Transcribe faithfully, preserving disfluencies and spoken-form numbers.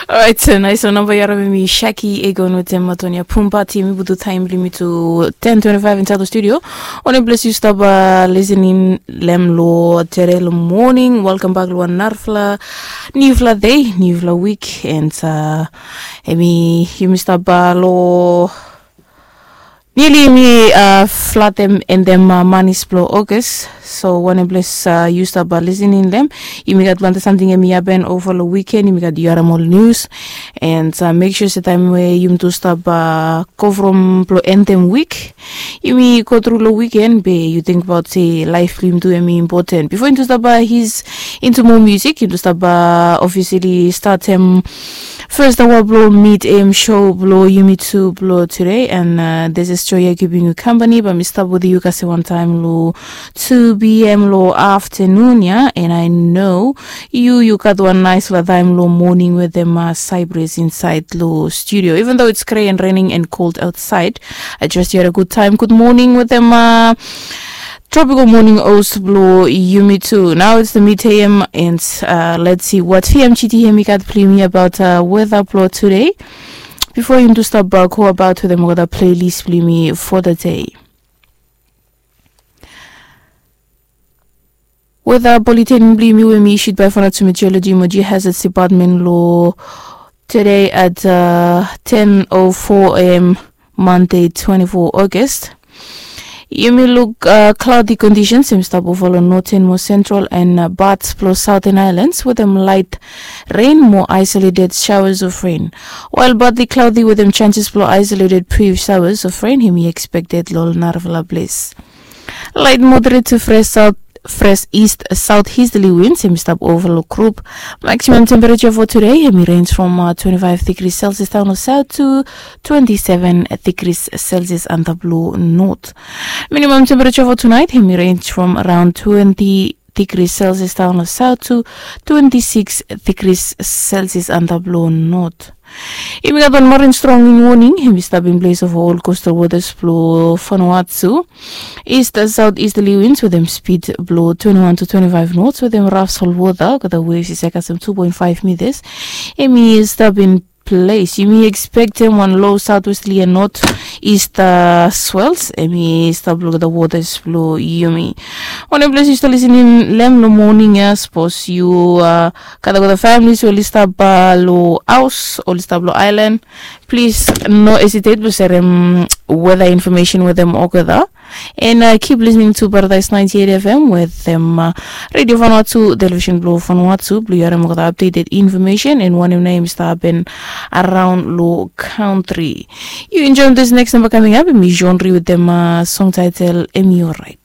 Orait, nais long namba yu harim em i Shaki Egon wetem Matonia Pumba. Tim, i butu taem blong yumi tu ten twenty-five insait long studio. Wanem ples yu stap lisening long hem long tede long moning? Welkam bak long wan narafala niufala dei, niufala wik, and em i, yumi stap long nili yumi flatem endem manis blong Ogas. So wanem ples yu stap lisening long hem, yumi gat plante samting em i hapen ova long wiken. Yumi gat yu harim ol nius, and mek sua se taem we yumi tu stap go from blong endem wik, yumi go tru long wiken, be yu tingbaot se laef blong yumi tu em i impoten. Bifo yumi tu stap his into moa musik, yumi tu stap ofisili statem fes aoa blong mid am show blong yumi tu blong tude, and this is Joya keeping yu kampani. Bae mi stap wetem yu kasem wantaem long two p.m. long aftenun ya, and I know yu yu gat wan naesfala taem long moning wetem Cyprus insait long studio. Even though it's grey and raining and cold outside, I trust you had a good time. Good morning wetem Tropical Morning Oats blong yumi tu. Now it's the mid am, and let's see what P M G T hem i gat blong yumi about weta blong tude. Bifo yumi tu stap go about wetem olgeta playlist blong yumi for the day. Weta bulletin blong yumi we mi issued by Vanuatu Meteorology mo Geohazards Department long tude at ten o four am, Monday twenty-four August. Yumi luk cloudy conditions hem i stap ova long northern mo central and parts blong southern islands wetem light rain mo isolated showers of rain. While partly cloudy wetem chances blong isolated brief showers of rain hem i expected long ol narafala ples. Light moderate to fresh south, fresh east southeasterly winds hem i stap ova long group. Maximum temperature for today hem i range from twenty-five degrees Celsius down south to twenty-seven degrees Celsius antap long north. Minimum temperature for tonight hem i range from around twenty degrees Celsius down south to twenty-six degrees Celsius antap long north. Yumi gat wan marin strong wind warning hem i stap in place ova ol coastal waters blong Vanuatu. East southeasterly winds wetem speed blong twenty-one to twenty-five knots wetem raf solwota olgeta waves i save kasem two point five meters. Hem i stap in place. Yumi expectem wan low southwesterly and northeast swells hem i stap long olgeta waters blong yumi. Wanem ples yu stap lisening long hem long moning ya, sapos yu gat olgeta families we oli stap long haos, oli stap long aelan, plis no hesitate blong serem weta infomesen wetem olgeta. And keep listening to Paradise ninety-eight F M wetem Radio Vanuatu, television blong Vanuatu blong yu harim olgeta updated infomesen and wanem nao hem i stap hapen araon long kantri. Yu enjoem this next namba kaming ap, hem i John Ri wetem song title Em I Orait.